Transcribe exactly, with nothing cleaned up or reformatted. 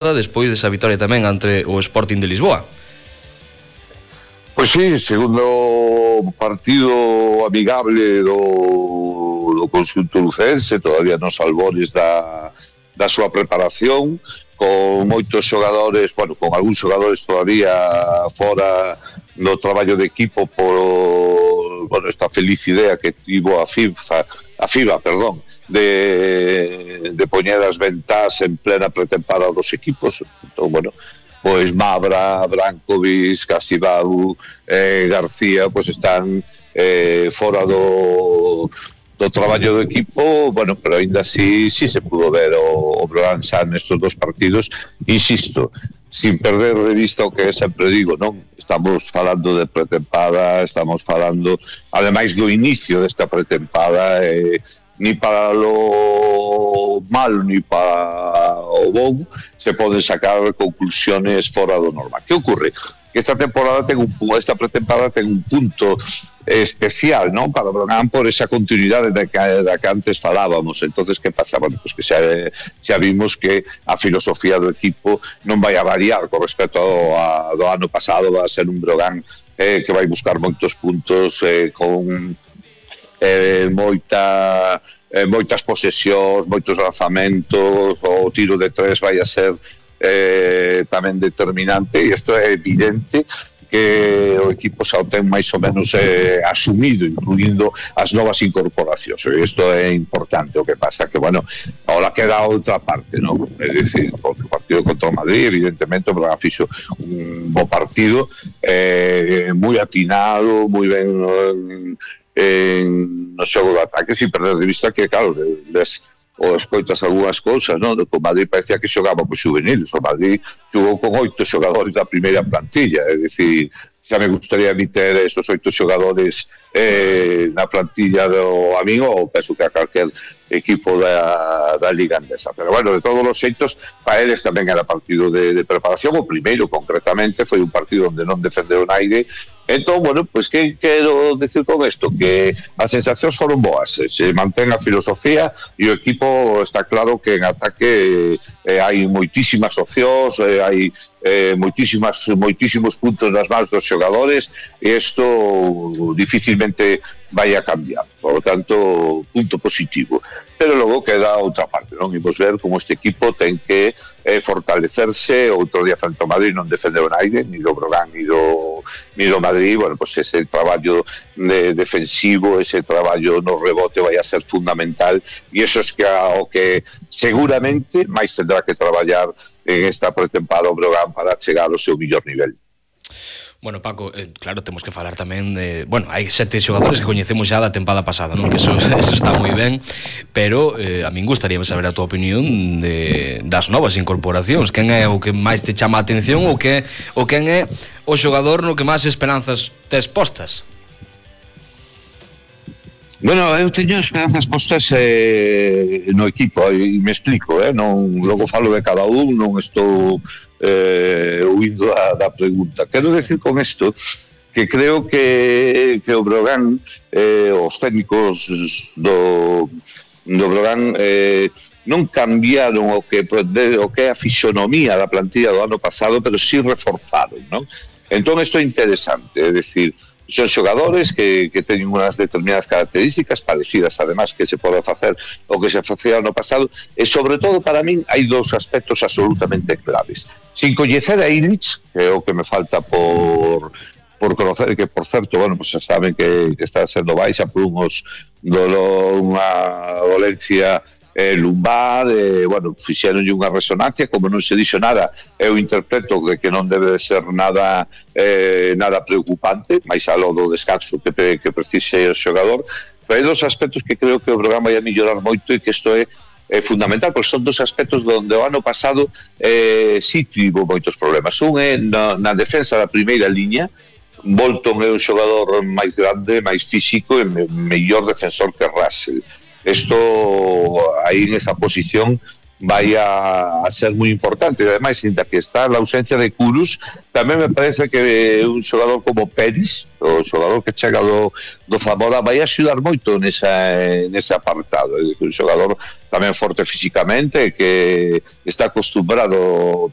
despois desa vitoria tamén ante o Sporting de Lisboa. Pois sí, segundo partido amigable do, do conxunto lucense, todavía nos albores da, da súa preparación, con moitos xogadores, bueno, con algúns xogadores todavía fora do traballo de equipo por, bueno, esta feliz idea que tivo a FIFA, a FIBA, perdón, de, de poñer as ventás en plena pretempada dos equipos. Entón, bueno, pois Mabra, Brankovic, Casibau, eh, García, pois están eh, fora do, do traballo do equipo, bueno, pero ainda así sí se pudo ver o, o Breogán xa nestes dos partidos, insisto, sin perder de vista o que sempre digo, non? Estamos falando de pretempada, estamos falando, ademais do inicio desta pretempada, eh, ni para lo malo ni para o bon se poden sacar conclusiones fora do normal. Que ocurre? Que esta temporada ten un esta pretemporada ten un punto especial, non? Para Breogán por esa continuidade da que, da que antes falábamos. Entonces, que pasa? Bueno, pues que xa, xa vimos que a filosofía do equipo non vai a variar con respecto ao, a, do ano pasado. Va a ser un Breogán eh, que vai buscar moitos puntos eh, con eh, moita eh, moitas posesións, moitos lanzamentos, o tiro de tres vai a ser eh, tamén determinante, e isto é evidente que o equipo xa o ten máis ou menos eh, asumido, incluindo as novas incorporacións, e isto é importante. O que pasa que, bueno, ahora queda outra parte, non? É dicir, o partido contra o Madrid, evidentemente o Braga fixo un bo partido, eh, moi atinado, moi ben eh, en no xogo do ataque, sin perder de vista que, claro, les, ou escoitas algunhas cousas, non? O Madrid parecía que xogaba con juveniles, o Madrid xogou con oito xogadores da primeira plantilla, é dicir, xa me gustaría meter esos oito xogadores eh, na plantilla do amigo, ou penso que a calquer equipo da, da Liga Andesa. Pero bueno, de todos os xeitos, para eles tamén era partido de, de preparación. O primeiro, concretamente, foi un partido onde non defendeu naide. Entón, bueno, pois que quero decir con isto? Que as sensacións foron boas, se mantén a filosofía e o equipo está claro que en ataque eh, hai moitísimas opcións, eh, hai eh, moitísimas, moitísimos puntos nas mans dos xogadores, e isto dificilmente vai a cambiar. Por lo tanto, punto positivo. Pero logo queda outra parte, non? Imos ver como este equipo ten que eh, fortalecerse. Outro día frente ao Madrid non defendeu naide, ni do Breogán, ni do, ni do Madrid. Bueno, pues ese traballo de defensivo, ese traballo no rebote vai a ser fundamental, e eso es que o que seguramente máis tendrá que traballar en esta pretempada o Breogán para chegar ao seu mellor nivel. Bueno, Paco, eh, claro, temos que falar tamén de... Bueno, hai sete xogadores que coñecemos xa da tempada pasada, non? Que eso, eso está moi ben, pero eh, a min gustaría saber a tua opinión de, das novas incorporacións. Quen é o que máis te chama a atención, ou que, ou quen é o xogador no que máis esperanzas tes postas? Bueno, eu teño esperanzas postas eh, no equipo, e me explico, eh? Non, logo falo de cada un, non estou eh, huindo da, da pregunta. Quero decir con isto que creo que, que o Breogán, eh, os técnicos do, do Breogán eh, non cambiaron o que, o que é a fisonomía da plantilla do ano pasado, pero sí reforzaron, non? Entón isto é interesante, é dicir, son xogadores que, que teñen unhas determinadas características parecidas, además, que se pode facer o que se facía no pasado, e sobre todo para min hai dous aspectos absolutamente claves. Sin coñecer a Illich, que é o que me falta por por conocer, que por certo, bueno, pues xa saben que, que está sendo baixa por unhos dolor, unha dolencia eh, lumbar, eh, bueno, fixeronlle unha resonancia, como non se dixo nada, eu interpreto que, que non debe de ser nada eh, nada preocupante, máis aló do descanso que, que precise o xogador, pero hai dos aspectos que creo que o programa vai a mellorar moito, e que isto é é fundamental, porque son dos aspectos onde o ano pasado eh, sí tivo moitos problemas. Un é na, na defensa da primeira liña. Bolton é un xogador máis grande, máis físico e me, mellor defensor que Russell. Isto aí nesa posición vai a, a ser moi importante. E ademais, ainda que está a ausencia de Kudus, tamén me parece que un xogador como Peris, o xogador que chega do, do Zamora, vai axudar moito nesa, nese apartado. É un xogador tamén forte físicamente, que está acostumbrado